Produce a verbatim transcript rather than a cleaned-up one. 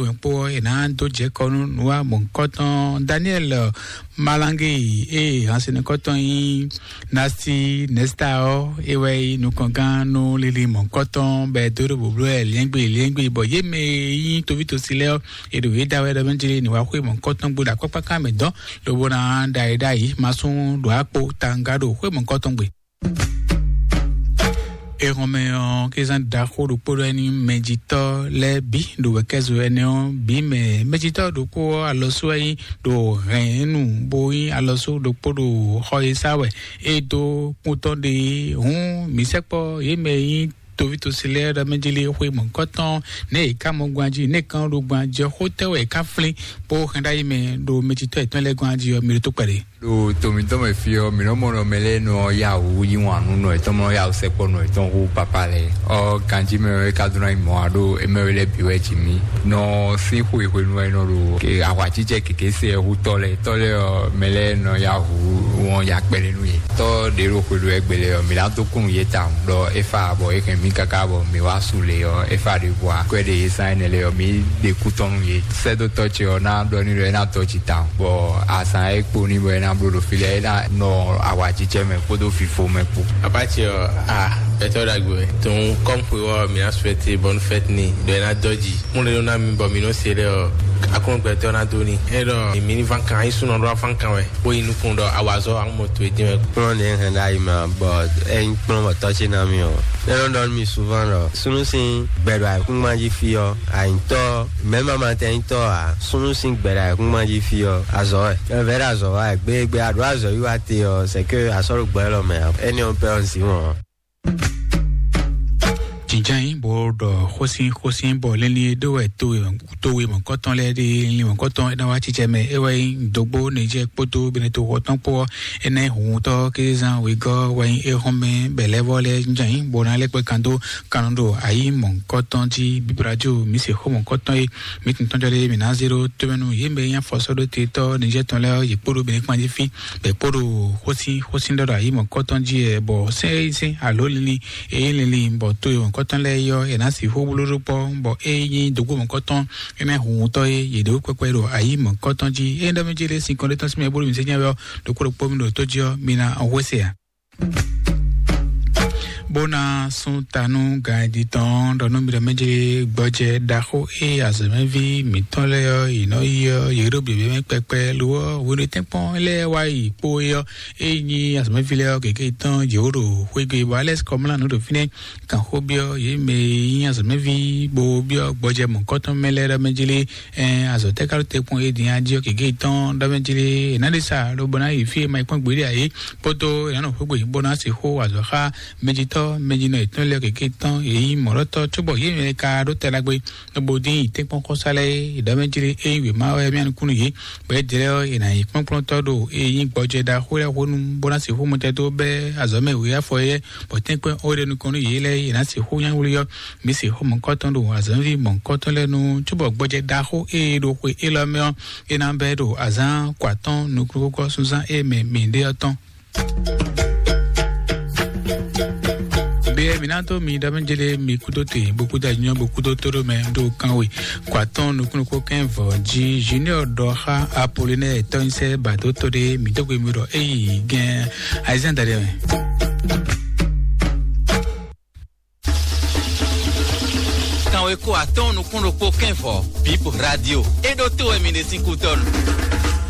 Wɛn kpó ɔ́, è nǎ dó jɛ kɔ nú nǔwamɔ̌kɔtɔn Daniel Malange, ée hansinukɔtɔn nyí Nasi Nesta ɔ́, é wɛ nyí nukɔngán nú lili mɔ̌kɔtɔn bɔ è dó ɖo bǔbló wɛ liɛ́ngbé liɛ́ngbé, bɔ yě mɛ e nyí tovítɔ́si lɛ́ɛ ɔ́, è ɖo yě da wɛ ɖɔ mɛ jlé ní wá xwé mɔ̌kɔtɔn gbo ɖo akpákpáká mɛ dɔn, lobo ná ɖa yě ɖ'ayǐ masún ɖo akpo tanga ɖo xwé mɔ̌kɔtɔn gbe. Ehɔnmɛ ɔ́, kézán ɖaxó ɖokpó ɖɔ ní mɛjitɔ́ lɛ́ɛ bǐ ɖo wɛ̌kɛ́zo ɛnɛ ɔ́ bǐ mɛ. Mɛjitɔ́ ɖokpó ɔ́ alɔsú wɛ nyí ɖo hɛ̌nnu, bó nyí alɔsú ɖokpó ɖo xɔ e sá wɛ é dó kúntɔ́ ɖe. Hǔn mǐ sɛkpɔ́ yě mɛ e nyí toví tosi lɛ́ɛ ɖɔ mɛ jlé xwe mɔ̌kɔtɔn nɛ è ká mɔ gban jí, nɛ è ká ɖo gban jí ɔ́, xó tɛ́ wɛ è ká flín bó hɛn ɖ'ayǐ mɛ ɖo mɛjitɔ́ yětɔn lɛ́ɛ gɔ́n jí ɔ́, mi ɖo tó kpɛɖé. Ɖo tomitɔn mɛ fí ɔ́, mǐ nɔ mɔ nɔ mɛ lɛ́ɛ nɔ yá wǔ yí wǎn nú nɔ yětɔn, mɔ yá wǔ sɛkpɔ nɔ yětɔn hú papá lɛ́ɛ. Ɔ ganjí mɛ wɛ ka dó ná yi mɔ̌ a ɖó émɛ wɛ lɛ́ɛ bǐ wɛ jí mì. Nɔ sín xwe hwenu wɛ nɔ ɖo ahwacícɛ kěké se hú tɔ́ lɛ́ɛ. Tɔ́ lɛ́ɛ ɔ́, mɛ lɛ́ɛ nɔ yá wǔ wɔn ya kpɛɖé nú yě. Tɔ́ ɖě ɖo xwe ɖo ɛgbɛ lɛ́ɛ ɔ́, mǐ ná dó kún yě tawun ɖɔ é fa bɔ é hɛn mǐ káká bɔ mǐ wá su lě ɔ́, é fa ɖěbǔ ǎ. Kwɛ́ ɖe yě zán énɛ́ lɛ́ɛ ɔ́, mǐ ɖe kú tɔn nú yě. Sɛ́dótɔ́ ce ɔ́ ná ɖɔ n'i ɖɔ é ná dɔ́ jǐ tawun, bɔ azǎn e kpo n'i bɔ é ná bló ɖo fí lɛ́ɛ, é ná nɔ awǎjijɛ mɛ kpódó fifo mɛ kpó. Papa ce ɔ́, a gbɛtɔ́ ɖagbe wɛ. Tɔn kɔ́m xwe ɔ́, mǐ ná suɛte bɔn fɛt ni ɖɔ é ná dɔ́ jǐ. Mú lé nɔ ná mi bɔ mǐ nɔ se lɛ ɔ́, akɔn gbɛtɔ́ ná dó ni. É ɖɔ mǐ ní ván kan, é súnɔ ɖó ván kan wɛ, bó yi nukún ɖɔ awazɔ amú mɔ towe dín wɛ. Kplɔ́n ɖě hɛn ɖ'ayǐ mɛ ɔ́, bɔ é nyí kplɔ́n bɔ tɔ́ ce ná mì ɔ́. É nɔ ɖɔ nú mì souvent ɖɔ súnnu sín gbɛ ɖo ayǐkúngban jí fí ɔ́, anyǐtɔ́, mɛ̌ ma ma tɛ nyítɔ́ ǎ. Súnnu sín gbɛ ɖo ayǐkúngban jí fí ɔ́, azɔ̌ wɛ. Vɛ̌ ɖo azɔ̌ wa wɛ gbégbé, a ɖǒ azɔ̌ yí wá te ɔ́, c'est que a sɔ́ ɖo gbɛ élɔ́ mɛ ǎ. Énɛ́ ɔ́ pɛ́ ɔ́, un zǐn wɔn ɔ́. Jǐnján yí bó ɖɔ xósín xósín bɔ línlín e ɖó wɛ towe towe mɔ̌kɔtɔn lɛ́ɛ ɖe, línlín mɔ̌kɔtɔn é ná wá cícɛ mɛ. É wɛ nyí dǒgbó Nìjɛ́ɛ kpódó Benɛto xɔ tɔn kpó ɔ́, é ná nyí hǔnhúntɔ́ kézán wegɔ́ wɛ nyí éhɔ́nmɛ bɛ̌lɛ́vɔ́ lɛ́ɛ jínjɔ́n yí bó ná lɛ́ kpé kan dó kan nɔ ɖo ayǐ mɔ̌kɔtɔn jí. Bíbí radio mǐ se xó mɔ̌kɔtɔn e mǐ tun tɔ́njɔ ɖé mǐ ná zé ɖó tómɛnu yě mɛ nyí afɔsɔ́ɖótetɔ́ Nìjɛ́ɛ tɔn lɛ́ɛ ɔ́, yě kpódó Benɛkpan jí fí bɔ è kpó ɖo xósín xósín ɖɔ ɖo ayǐ mɔ̌kɔtɔn jí wɛ, bɔ sɛ́n e nyí sɛ́n alo linlin e nyí linlin bɔ to e mɔ̌kɔtɔn lɛ́ɛ yɔ è nǎ sixú bló ɖó kpɔ́, bɔ é nyí dǒgbó mɔ̌kɔtɔn é ná hu wutɔ́ e yě ɖe wú kpɛkpɛ ɖo ayǐ mɔ̌kɔtɔn jí. É ɖɔ mì jí ɖé sinkɔn ɖé tɔn sín mɛ bó ɖo mǐ sɛ́ nyɛ wɛ ɔ́, ɖokpó ɖokpó mi ɖo tó jí ɔ́, mi ná hwesɛ ǎ. Bó ná sún ta nú ganjí tɔn ɖɔ nú mi ɖɔ mɛ jí gbɔjɛ ɖaxó e azɔ̌mɛví mǐtɔn lɛ́ɛ ɔ́, yě nɔ yi ɔ́, yě ɖo běbě mɛ kpɛkpɛ lo ɔ́, hwenu e tɛ́nkpɔ́n lɛ́ɛ wá yi kpó é ɔ́, é nyí azɔ̌mɛví lɛ́ɛ ɔ́ gěgé tɔn jǐ wó ɖo xwégbe, bɔ Alɛ́si Kɔmlá nǔ ɖo fínɛ́ kan xó byɔ́ yě mɛ e nyí azɔ̌mɛví bó byɔ́ gbɔjɛ mɔ̌kɔtɔn mɛ lɛ́ɛ ɖɔ mɛ jí lé. Ɛn azɔ̌ tɛ́ ka ɖo te kpɔ́n é din a jí ɔ́ gěgé tɔn ɖɔ mɛ jí lé? È nǎ ɖe sa lobo ná yi fí e ma yi kpɔ́n gbeɖé ǎ é, kpódó è nǎ nɔ xwégbe bó ná sixú wa azɔ̌ xá mɛjitɔ́ mɛjinɔ yětɔn lɛ́ɛ gěgé tɔn, yě nyí mɔ̌ɖɔtɔ́ cóbɔ yě mɛ ka ɖó tɛ ɖagbe lobo dín yi tɛ́nkpɔ́n xɔ́sá lɛ́ɛ é ɖɔ mɛ jí lé? Ényí wěma wɛ mía nukúnnú yě, bɔ é dlɛ́ ɔ́, è nǎ nyí kplɔ́nkplɔ́ntɔ́ ɖo é nyí gbɔjɛ ɖaxó lɛ́ɛ xó nu bó ná sixú mɔtɛn dó bɛ́ azɔ̌ mɛ wě afɔ éyɛ́, bɔ tɛ́nkpɛ́n ó ɖe nukɔn nú yě lɛ́ɛ, è nǎ sixú nyá wlí ɔ́. Mǐ sixú mɔ̌kɔtɔn ɖo azɔ̌ví mɔ̌kɔtɔn lɛ́ɛ nu, cóbɔ gbɔjɛ ɖaxó e ɖo xwe élɔ́ mɛ ɔ́, é ná bɛ́ ɖo azǎn kɔ atɔ́ɔ́n nukúnnú kókó súnzán e mɛ mǐ ɖe ɔ́ tɔn. Bíyɛ́ mǐ ná dó mi ɖɔ mɛ jélé mi kúdó te bó kúdó anyɔ bó kúdó tóɖó mɛ ɖo kan we kɔ atɔ́ɔ́n nukúnnú kó kɛ́n vɔ̌ jí. Junior ɖɔ xá Apolinɛ́ɛ tɔ́nyísɛ́ bado tó ɖé mǐ dó gbe mi ɖɔ é yi gɛ́n ayizán daɖé mɛ. Kanwe ko atɔ́ɔ́n nukún ɖokpó kɛ́n vɔ̌, Bip Radio. É ɖó tó wɛ mi ɖe sín kútɔ́nu.